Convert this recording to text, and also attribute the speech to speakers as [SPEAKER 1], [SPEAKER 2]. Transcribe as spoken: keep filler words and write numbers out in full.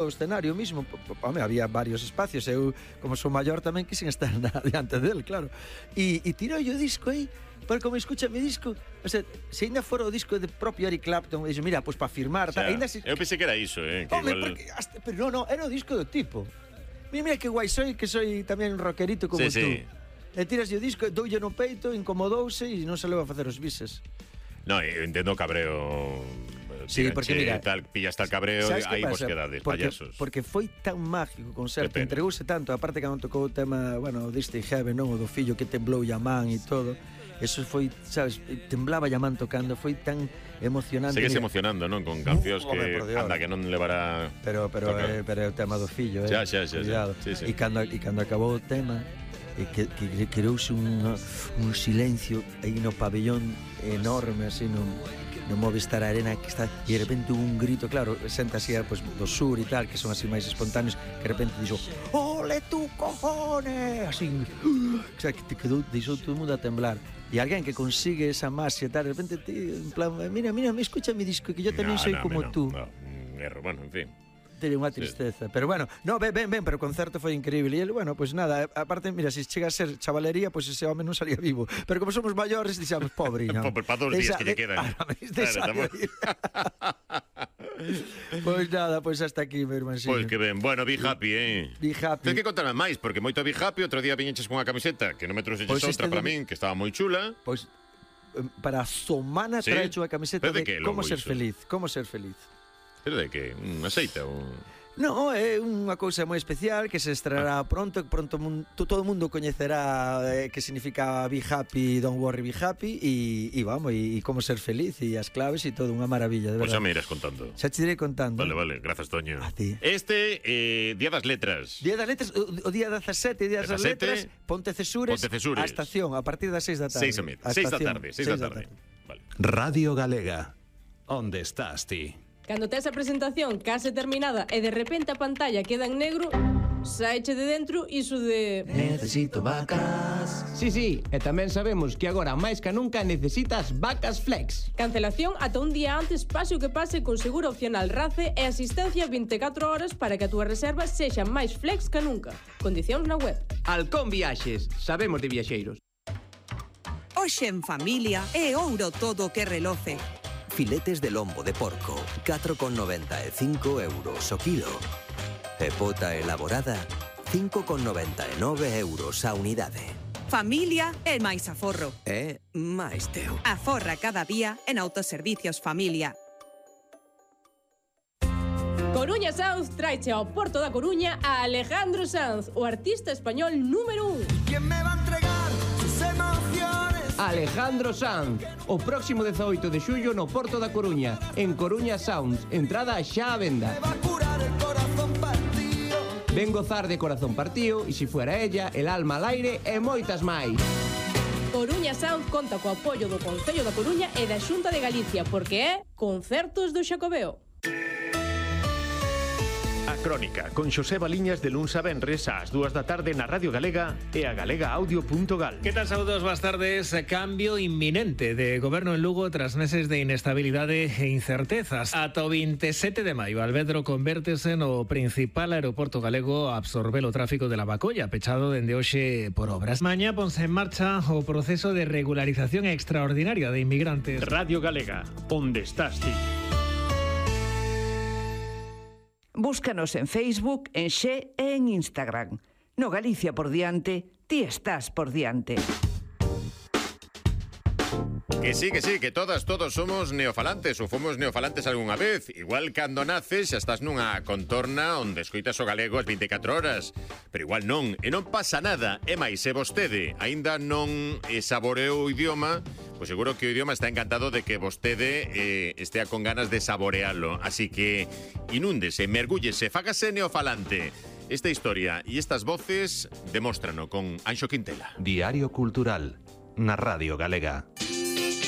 [SPEAKER 1] o escenario mismo, home, había varios espacios, eu, como sou maior, tamén quixen estar na, diante del, claro. E, e tirou o disco aí, porque como escucha mi disco, o sea, se ainda fora o disco de propio Eric Clapton, dixo, mira, pois pues, para firmar,
[SPEAKER 2] o sea,
[SPEAKER 1] ainda se...
[SPEAKER 2] eu pensei que era iso, eh, que
[SPEAKER 1] home,
[SPEAKER 2] igual...
[SPEAKER 1] porque, hasta, pero no, no, era o disco do tipo. Mira, mira que guai soy, que soy tamén un rockerito como
[SPEAKER 2] sí,
[SPEAKER 1] tú.
[SPEAKER 2] Sí.
[SPEAKER 1] E tiras o disco, doulle no peito, incomodouse e non se leva a facer os bises.
[SPEAKER 2] No, eu entendo o cabreo...
[SPEAKER 1] Sí, porque mira,
[SPEAKER 2] tal, pillas tal cabreo, aí vos quedades,
[SPEAKER 1] porque,
[SPEAKER 2] payasos.
[SPEAKER 1] Porque foi tan mágico o concerto, entregouse tanto, aparte que non tocou o tema, bueno, diste Heaven, non, o do fillo que temblou a man e todo. Eso foi, sabes, temblaba a man tocando, foi tan emocionante.
[SPEAKER 2] Segues emocionando, non? Con cancións que anda que non levará.
[SPEAKER 1] Pero pero é, pero é o tema do fillo, eh.
[SPEAKER 2] Xa, xa, xa.
[SPEAKER 1] Sí, sí. E cando e cando acabou o tema, e que, que creouse un un silencio aí no pabellón enorme así no no Movistar Arena, que está, e de repente un grito, claro, xente así, pues, do sur e tal, que son así máis espontáneos, que de repente dixo, ole tu cojones, así, o sea, que te quedou, deixou todo o mundo a temblar. E alguén que consigue esa masia e tal, de repente, ti, en plan, mira, mira, me escucha mi disco, que yo tamén
[SPEAKER 2] no,
[SPEAKER 1] soy
[SPEAKER 2] no,
[SPEAKER 1] como
[SPEAKER 2] no,
[SPEAKER 1] tú.
[SPEAKER 2] No, erro, bueno, en fin.
[SPEAKER 1] Tería unha tristeza, sí. Pero bueno, no, ben, ben, ben, pero o concerto foi increíble. E ele, bueno, pois pues nada, aparte, mira, se si chega a ser chavalería, pois pues ese home non salía vivo. Pero como somos maiores, dixamos, pobre, non?
[SPEAKER 2] Pobre, para dos días que lle quedan.
[SPEAKER 1] Claro, pois nada, pois hasta aquí, meu irmãoxinho.
[SPEAKER 2] Pois que ben, bueno, be happy, eh?
[SPEAKER 1] Be happy.
[SPEAKER 2] Ten que contarme máis, porque moito be happy, outro día viñeches con unha camiseta que non me trouxeches pues outra para min, que estaba moi chula.
[SPEAKER 1] Pois para a semana ¿sí? Traecho a camiseta de, de Como ser iso? Feliz, Como ser feliz.
[SPEAKER 2] Pero de que? Un aceite ou...
[SPEAKER 1] No, é unha cousa moi especial que se estrenará pronto, pronto todo o mundo coñecerá eh, que significa be happy, don't worry, be happy e, e vamos, e, e como ser feliz e as claves e todo, unha maravilla, de verdade.
[SPEAKER 2] Pois xa me irás contando.
[SPEAKER 1] Xa te irei contando.
[SPEAKER 2] Vale, vale, grazas, Toño.
[SPEAKER 1] A ti.
[SPEAKER 2] Este, eh, Día das Letras.
[SPEAKER 1] Día das Letras, o, o día dezasete, Día das Letras, Ponte Cesures,
[SPEAKER 2] Ponte Cesures.
[SPEAKER 1] A estación, a partir das seis da tarde.
[SPEAKER 2] Seis e media, seis da tarde, seis da tarde.
[SPEAKER 3] Vale. Radio Galega, onde estás ti?
[SPEAKER 4] Cando tes a presentación case terminada e de repente a pantalla queda en negro, saeche de dentro iso de...
[SPEAKER 5] Necesito vacas.
[SPEAKER 6] Sí, sí, e tamén sabemos que agora máis que nunca necesitas vacas flex.
[SPEAKER 4] Cancelación ata un día antes, pase o que pase, con seguro opcional RACE e asistencia vinte e catro horas para que a túa reserva sexa máis flex que nunca. Condicións na web.
[SPEAKER 6] Halcón Viaxes, sabemos de viaxeiros.
[SPEAKER 7] Hoxe en familia é ouro todo o que reloce.
[SPEAKER 8] Filetes de lombo de porco, catro con noventa e cinco euros o kilo. E pota elaborada, cinco con noventa e nove euros a unidade.
[SPEAKER 7] Familia é máis aforro.
[SPEAKER 8] É máis teu.
[SPEAKER 7] Aforra cada día en Autoservicios Familia.
[SPEAKER 4] Coruña Sounds traiche ao Porto da Coruña a Alejandro Sanz, o artista español número un.
[SPEAKER 5] ¿Quién me va a entregar sus emociones?
[SPEAKER 6] Alejandro Sanz, o próximo dezaoito de xullo no Porto da Coruña, en Coruña Sounds, entrada xa a venda.
[SPEAKER 5] Me va a curar el corazón partido.
[SPEAKER 6] Ven gozar de Corazón Partido, e se fuera ella, El alma al aire e moitas máis.
[SPEAKER 4] Coruña Sound conta co apoio do Concello da Coruña e da Xunta de Galicia, porque é Concertos do Xacobeo.
[SPEAKER 9] A Crónica, con Xosé Baliñas de luns a venres ás dúas da tarde na Radio Galega e a galega audio punto gal.
[SPEAKER 10] Que tal, saúdos, boas tardes. Cambio inminente de goberno en Lugo tras meses de inestabilidade e incertezas. Ata o vinte e sete de maio, Alvedro convértese no principal aeroporto galego a absorber o tráfico de Lavacolla, pechado dende hoxe por obras. Mañá ponse en marcha o proceso de regularización extraordinaria de inmigrantes.
[SPEAKER 9] Radio Galega, onde estás ti?
[SPEAKER 11] Búscanos en Facebook, en Xe e en Instagram. No Galicia por diante, ti estás por diante.
[SPEAKER 2] Que sí, que sí, que todas, todos somos neofalantes ou fomos neofalantes algunha vez. Igual cando naces xa estás nunha contorna onde escoitas o galego as vinte e catro horas. Pero igual non, e non pasa nada. E máis, se vostede aínda non saboreou o idioma, pois seguro que o idioma está encantado de que vostede eh, estea con ganas de saborealo. Así que inúndese, mergúllese, fágase neofalante. Esta historia e estas voces demóstrano con Anxo Quintela.
[SPEAKER 3] Diario Cultural, na Radio Galega.